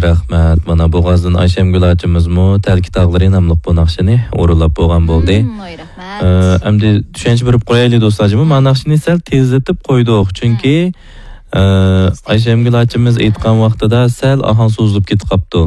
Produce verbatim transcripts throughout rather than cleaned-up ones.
رەھمەت. مانا بوغازدىن ئايشەمگۈل ئاچىمىزمۇ تەلكە تاغلىرى ناملىق بۇ ناخشىنى ئورۇنلاپ بولغان بولدى. مم، ۋاي، رەھمەت. ئە، ئەمدى چۈشەنچە بېرىپ قويايلى دوستلار، جىمى. ما ناخشىنى سەل تېزلىتىپ قويدۇق، چۈنكى، ئە، ئايشەمگۈل ئاچىمىز ئېيتقان ۋاقتىدا سەل ئاھاڭ سوزۇلۇپ كېتىپ قاپتۇ.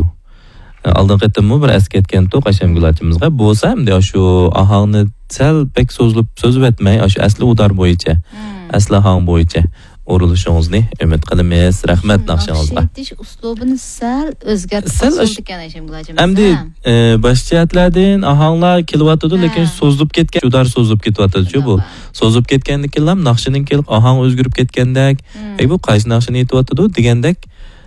ئە، ئالدىنقى قېتىممۇ بىر ئەسكەرتكەنتۇق ئايشەمگۈل ئاچىمىزغا. بولسا ئەمدى شۇ ئاھاڭنى سەل بەك سوزۇلۇپ سوزۇۋەتمەي، ئاشۇ ئەسلى ئۇدار بويىچە، مم. ئەسلى ئاھاڭ بويىچە ئورۇنلىشىڭىزنى ئۈمىد قىلىمىز. رەھمەت ناخشىڭىزغا. ناخشا ئېيتىش ئۇسلۇبىنى سەل ئۆزگەرتىپ سەل قويسىڭىز ئەش-، بولىدىكەن، ئايشەمگۈل ھاجىم، ئەمدى، ھە؟ ئە، باش جەھەتلەردىن ئاھاڭلار كېلىۋاتىدۇ، لېكىن ھە. سوزۇلۇپ كەتكەن، جۇدا سوزۇلۇپ كېتىۋاتىدۇ-چۇ بۇ. توغرا. سوزۇلۇپ كەتكەندىن كېيىنلا ناخشىنىڭ كېلىپ ئاھاڭ ئۆزگىرىپ كەتكەندەك، مم. ئەي، بۇ قايسى ناخشىنى ئېيتىۋاتىدۇ دېگەندەك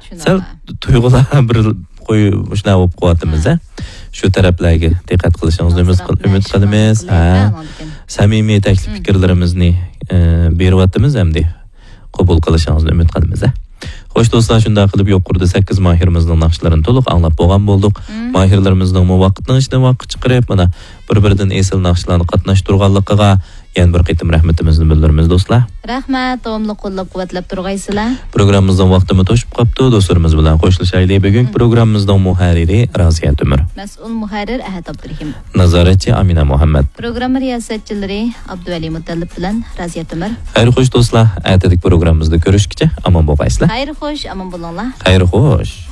شۇنداق. سەل تۇيغۇلار بىر قوي-، شۇنداق بولۇپ قوياتىمىز، ھە. ھە. شۇ تەرەپلەرگە دىققەت قىلىشىڭىزنى ئۈمىد قىل-، ئۈمىد قىلىمىز. ھە. سەمىمىي تەكلىپ مم. پىكىرلىرىمىزنى، ئە، بېرىۋاتىمىز ئەمدى. قوبۇل قىلىشىڭىزنى ئۈمىد قىلىمىز، ھە. خوش دوستلار، شۇنداق قىلىپ يۇقىرىدا سەككىز ماھىرىمىزنىڭ ناخشىلىرىنى تولۇق ئاڭلاپ بولغان بولدۇق. مم. ماھىرلىرىمىزنىڭمۇ ۋاقىتنىڭ ئىچىدىن ۋاقىت چىقىرىپ، مانا، بىر-بىرىدىن ئېسىل ناخشىلارنى قاتناشتۇرغانلىقىغا يەنە بىر قېتىم رەھمىتىمىزنى بىلدۈرىمىز، دوستلار. رەھمەت، داۋاملىق قوللاپ-قۇۋۋەتلەپ تۇرغايسىلەر. پروگراممىمىزنىڭ ۋاقتىمۇ توشۇپ قاپتۇ، دوستلىرىمىز بىلەن خوشلىشايلى. بۈگۈنكى مم. پروگراممىمىزنىڭ مۇھەررىرى رازىيە تۆمۈر. مەسئۇل مۇھەررىر ئەھەت ئابدۇرېھىم. نازارەتچى ئامىنە مۇھەممەد. پروگرامما رىياسەتچىلىرى ئابدۇۋەلى مۇتەللىپ بىلەن رازىيە تۆمۈر. خەير خوش دوستلار، ئەتىدىكى پروگراممىمىزدا كۆرۈشكىچە ئامان بولغايسىلەر. خەير خوش، ئامان بولۇڭلار. خەير خوش.